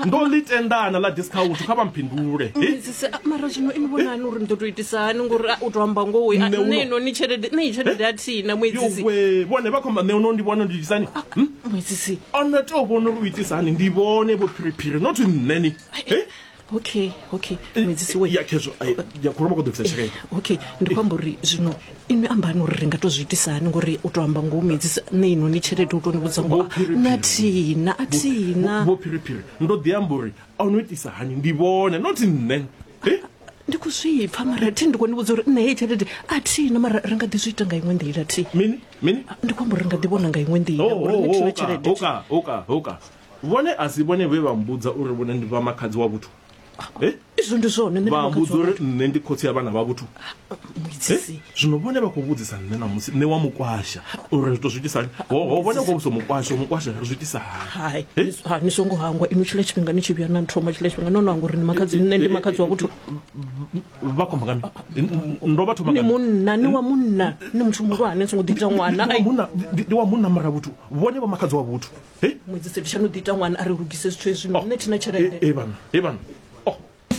Ndo ḽi tendana ḽa discount kha vha mphindule. He? Muedzisi, ah, mara zwino ini vhonani uri ni ḓo tou itisa hani ngori ah, u tou amba ngoho Nṋe uno- nṋe inoni tshelede nṋe iyi tshelede a thina muedzisi. Yowe, vhone vha khou amba nṋe uno ndi vhone ndi itisani. Hm? Muedzisi. Ono tea u vhona uri u itisa hani ndi vhone vho phiriphiri not nṋe ni. He? Okay, okay. Muedzisi we. Ya khezwo, ai, ya khou vha khou ḓo bvisa tshelede. Okay, ndi khou amba uri zwino inwi ambani uri ri nga tou zwi itisa hani ngori u tou amba ngoho muedzisi nṋe inoni tshelede u tou ni vhudza ngoho Vho Phiriphiri. na thina a thina. Vho phiriphiri ndo ḓi amba uri ono itisa hani ndi vhone not nṋe. He? Ndi khou zwi pfa mara thi ndi khou ni vhudza uri nṋe heyi tshelede a thina mara ri nga ḓi zwi ita nga iṅwe nḓila thi. Mini? Mini? Ndi khou amba uri ri nga ḓi vhona nga iṅwe nḓila Oh, ngori oh, nṋe thina oh, tshelede. Hoka, hoka, hoka. Vhone a si vhone vhe vha mbudza uri vhone ndi vha makhadzi wa vhuthu. Eh? Izwo ndi zwone nṋe ndi Vha makhadzi mbudza wa uri vhuthu. nṋe ndi khotsi ya vhana vha vhuthu. Muedzisi. Eh? Zwino vhone vha khou vhudzisa nṋe ṋamusi nṋe wa mukwasha uri ri to zwi itisa hani. Ho ho vhone vho vhudzisa mukwasha, mukwasha ri zwi itisa hani. Hai, Eh? ha ni songo hangwa inwi tshiḽa tshifhinga ni tshi vhuya na nthoma tshiḽa tshifhinga no no hangwa uri ni makhadzi nṋe ndi makhadzi wa vhuthu. Vha khou amba nga mini? Ndo vha thoma Ni nga mini? munna, ni wa munna, ni muthu muhulwane ni songo ḓi ita ṅwana. Ndi wa Ai. munna, ndi ndi wa munna mara vhuthu. Vhone vha makhadzi wa vhuthu. Eh? Muedzisi ndi tsha no ḓi ita ṅwana a ri lugise zwithu hezwi nṋe thina tshelede. Eh, eh bana, eh bana.